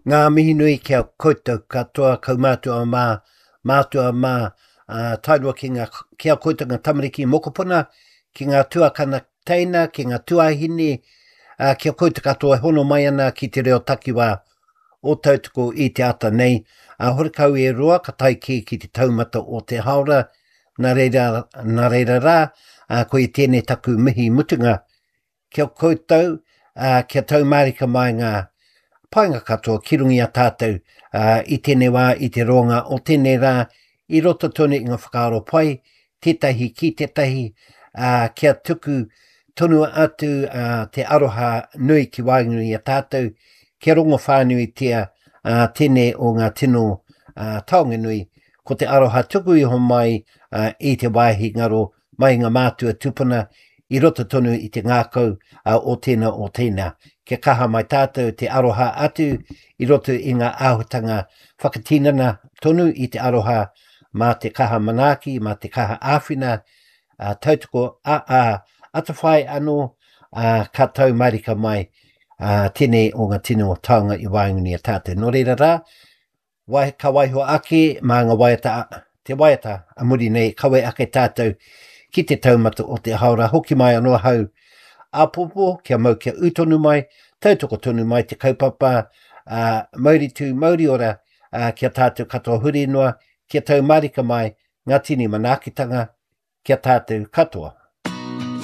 Ngā mihi nui ki a koutou katoa, kaumātua mā, mātua mā, ā, tae noa ki ngā, ki a koutou ngā tamariki mokopuna, ki ngā tuakana teina, ki ngā tuāhine, ā, ki a koutou katoa e hono mai ana ki te reo takiwā o Tautoko i te ata nei. Ā, horekau e roa ka tae kē ki te taumata o te haora, nā reira, nā reira rā, ā, koia tēnei taku mihi mutunga Ki a koutou, ā, kia tau mārika mai ngā painga katoa ki runga i a tātou, ā, i tēnei wā, i te roanga o tēnei rā, i roto tonu i ngā whakaaro pai, tētahi ki tētahi, ā, kia tuku tonu atu ā, te aroha nui ki waenganui i a tātou, kia rongo whānuitia ā, tēnei o ngā tino ā, taonga nui, ko te aroha tuku iho mai ā, i te wāhi ngaro mai ngā mātua tupuna i roto tonu i te ngākau o tēnā o tēnā. Kia kaha mai tātou te aroha atu i roto i ngā āhuatanga whakatinana tonu i te aroha mā te kaha manaaki, mā te kaha āwhina, ā, tautoko, ā, ā, atawhai anō, ā, ka tau marika mai ā, tēnei o ngā tino taonga i waenganui i a tātou. Nō reira rā, Wai, ka waiho ake mā ngā waiata, te waiata a muri nei, kawe ake tātou ki te taumata o te haora, hoki mai anō ahau āpōpō, kia mau kia ū tonu mai, tautoko tonu mai te kaupapa, ā, mauri tū, mauri ora, ā, kia tātou katoa huri noa, kia tau mārika mai ngā tini manaakitanga kia tātou katoa.